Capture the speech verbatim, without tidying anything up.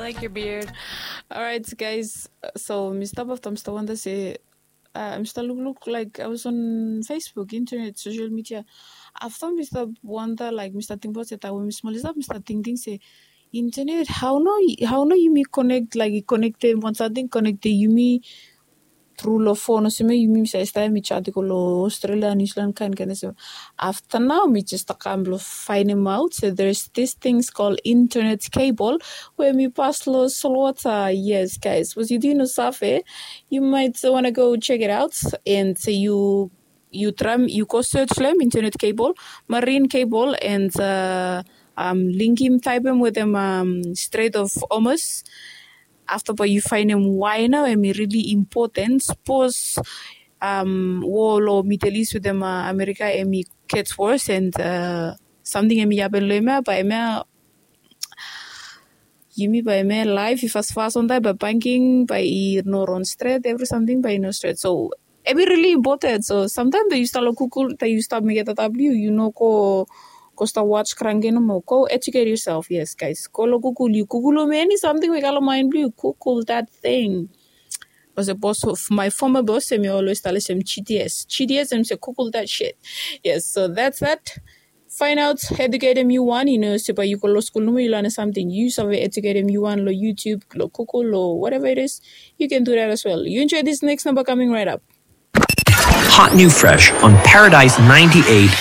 Like your beard. Alright, guys. So mi stap afta mi stap wanda se uh, mi stap lukluk like I was on Facebook, internet, social media. Afta mi stap wanda like mi stap tingbaot se taem we mi smol i stap mi stap tingting se internet, hao no hao no yumi connect like i connectem wan samting connectem yumi tru long fon olsem ya yumi mi save stap ya mi chat i go long Australia, New Zealand kaen kaen olsem. Afta nao mi jes stap kam blong faenemaot se there's this things called internet cable we mi pas long solwota. Yes, guys, was yu didn't know save, you might want to go check it out and se yu yu traem yu go search long hem internet cable, marine cable and uh, um, link him taepem wetem um, Strait of Hormuz. Afta bae yu faenem why nao hem i really important. Sapos um, war long Middle East wetem uh, America hem i get worse and uh, samting hem i hapen long hem ya bae hem ya yumi bae hem ya laef i fasfas on taem bae banking bae i no ron stret, evri samting bae i no stret. So hem i really important. So samtaem taem yu stap long Google taem yu stap mekem data blong yu yu no go go stap watch kranke nomo. Go educate yourself. Yes, guys, go long Google, yu Google long eni samting we i kam long mind blong yu, Google that thing. Because the boss of my former boss, hem i always tell us hem G T S, G T S, hem se Google that shit. Yes, so that's that. Find out, educatem yu wan, you know, se bae yu go long skul nomo yu lanem samting, yu save educatem yu wan long YouTube, long Google, or whatever it is. You can do that as well. You enjoy this next number coming right up. Hot new fresh on Paradise ninety-eight